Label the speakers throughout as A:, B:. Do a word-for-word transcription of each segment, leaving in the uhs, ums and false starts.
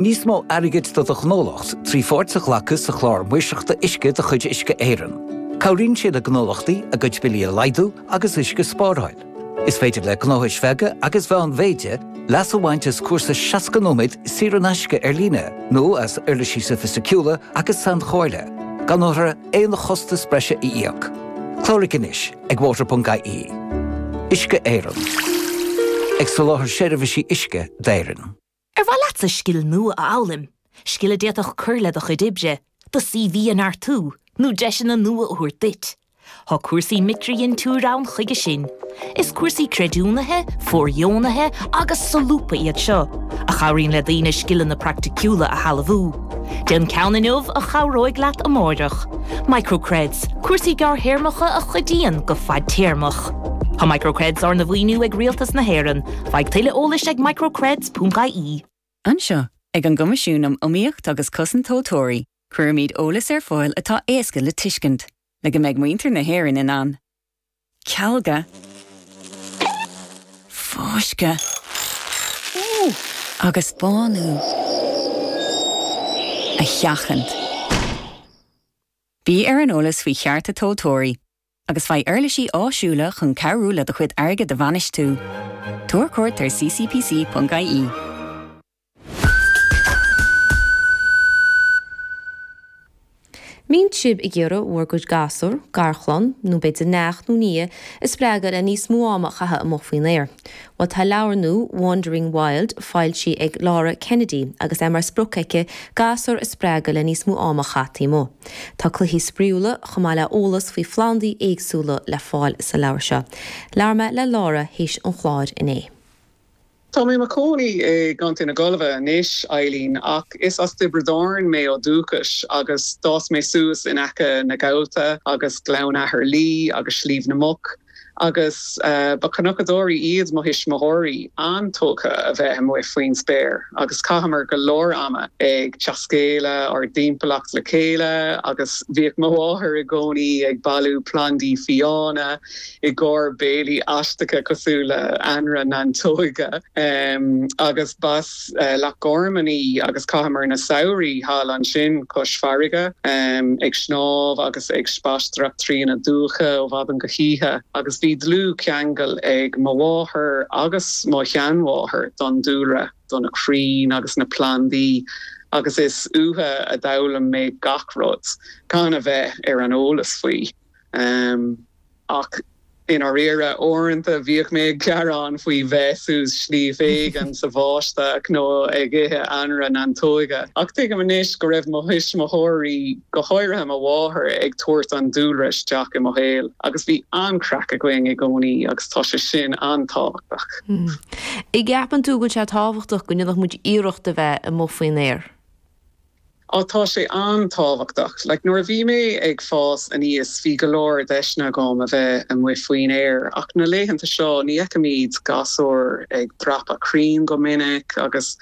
A: Níos mó airgid do do ghnólacht trí pháirt a ghlacadh sa chlár maoirseachta uisce de chuid Uisce Éireann. Cabhraíonn sé le gnólachtaí a gcuid billí a laghdú agus uisce a spáráil. Is féidir le gnóthais bheaga agus mheánmhéide leas a bhaint as cúrsa seasca nóiméad saor in aisce ar líne nó as uirlisí sofaisticiúla agus sainchomhairle, gan orthu aon chostas breise a íoc. Cláraigh anois ag water.ie. Uisce Éireann. Ag soláthar seirbhísí uisce d'Éirinn.
B: Ar mhaith leatsa scil nua a fhoghlaim, scil a d'fhéadfadh cur le do chuid oibre, do CV a neartú, nó deiseanna nua a thabhairt duit. Tá cúrsaí micridhintiúir ann chuige sin. Is cúrsaí creidiúnaithe, fóirdheonaithe agus solúbtha iad seo, a chabhraíonn le daoine scileanna praiticiúla a shealbhú. Déan ceann inniu a chabhróidh leat amárach. Microcreds, cúrsaí gearrthéarmacha a chuidíonn go fadtéarmach. Tá Microcreds arna mhaoiniú ag Rialtas na hÉireann, faigh tuilleadh eolais ag microcreds.ie.
C: Anseo ag an gCoimisiún um Iomaíocht agus Cosaint Tomhaltóirí, cuirimid eolas ar fáil atá éasca le tuiscint, le go mbeidh muintir na hÉireann in ann. Cealga Fáisceadh agus bánú a sheachaint. Bí ar an eolas faoi chearta tomhaltóirí, agus faigh uirlisí áisiúla chun cabhrú le do chuid airgid a bhainistiú. Tabhair cuairt ar ccpc.ie.
D: Mbíonn sibh ag iarraidh bhur gcuid gasúr, garchlann, nó b'fhéidir neacht nó nia, a spreagadh le níos mó ama a chaitheamh amuigh faoin aer. Bhuel tá leabhar nua, Wandering Wild, foilsithe ag Laura Kennedy agus é mar sprioc aici gasúir a spreagadh le níos mó ama a chaitheamh taobh amuigh. Tá cluichí spraíúla, chomh maith le eolas faoi phlandaí éagsúla le fáil sa leabhar seo. Labhair mé le Laura théis an chláir inné.
E: Tá mé i mo chónaí i gContae na Gaillimhe anois, Eileen, ach is as Tiobraid Árann mé ó dúchas agus d'fhás mé suas in aice na Gabhla agus Gleann Athar Lí agus Sliabh na Muc agus ba chnocadóirí iad mo thuismitheoirí, an-tógtha a bheith amuigh faoin spéir agus chaitheamar go leor ama ag taiscéaladh ár dtimpeallacht le chéile agus bhíodh mo mháthair i gcónaí ag bailiú plandaí fiáine i gcomhair béilí aisteacha cosúil le anraith neantóige agus b'as Loch Garman í agus chaitheamar na samhraí thall ansin cois farraige ag snámh agus ag spaisteoireacht trí na dumhcha ó mhaidin go hoíche agus bhí dlúthcheangal ag mo mháthair agus mo sheanmháthair don dúlra, do na crainn agus na plandaí agus is uathu a d'fhoghlaim mé gach rud gan a bheith ar an eolas faoi. Ach i ndáiríre, uaireanta bhíodh mé ag gearán faoi bheith suas sliabh éigin sa bháisteach nó ag ithe anraith neantóige. Ach tuigim anois go raibh mo thuismitheoirí, go háirithe mo mháthair, ag tabhairt an dúlra isteach i mo shaol agus bhí an-chraic againn i gcónaí agus tá sé sin an-tábhachtach.
D: An gceapann tú go bhfuil sé tábhachtach go ndéanfadh muid iarracht a bheith amuigh faoin aer?
E: Á tá sé an-tábhachtach. Like nuair a bhí mé ag fás aníos bhí go leor deiseanna agam a bheith amuigh faoin aer ach na laethanta seo ní fheicimid gasúir ag dreapadh crainn go minic agus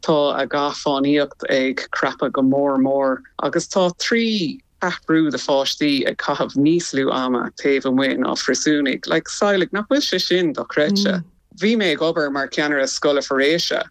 E: tá a gcath fánaíocht ag crapadh go mór mór agus tá trí cheathrú de pháistí ag caitheamh níos lú ama taobh amuigh ná phríosúnaigh. Like samhlaigh nach bhfuil sé sin dochreidte. Bhí mé ag obair mar cheannaire scoile foraoise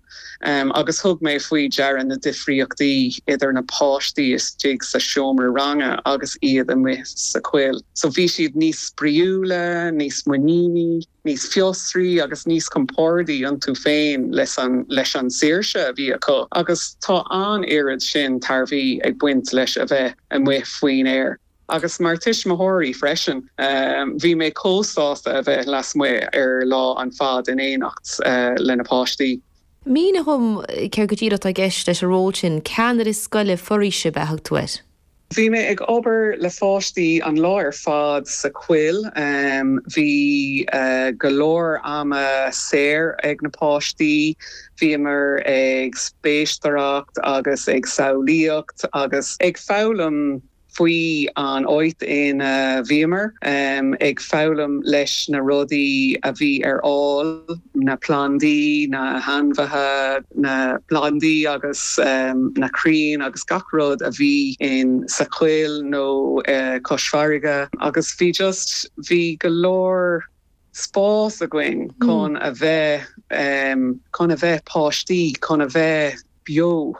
E: agus thug mé faoi deara na difríochtaí idir na páistí istigh sa seomra ranga agus iad amuigh sa choill. So bhí siad níos spraíúla, níos muiníní, níos fiosraí agus níos compordaí iontu féin leis an leis an saoirse a bhí acu. Agus tá an oiread sin tairbhí ag baint leis a bheith amuigh faoin aer. Agus mar tuismitheoirí freisin, bhí mé chomh sásta a bheith lasmuigh ar lá an fad in éineacht le na páistí.
D: Mínigh dom céard go díreach atá i gceist leis an ról sin, ceannaire scoile foraoise ab ea a thug tú air?
E: Bhí mé ag obair le pháistí an lá ar fad sa choill. Bhí go leor ama saor ag na páistí. Bhíomar ag spaisteoireacht agus ag samhlaíocht agus ag foghlaim faoi an áit ina bhíomar, ag foghlaim leis na rudaí a bhí ar fháil, na plandaí, na hainmhithe, na plandaí agus na crainn agus gach rud a bhí in sa choill nó cois farraige agus bhí just, bhí go leor spás againn chun a bheith, chun a bheith páistí, chun a bheith. beo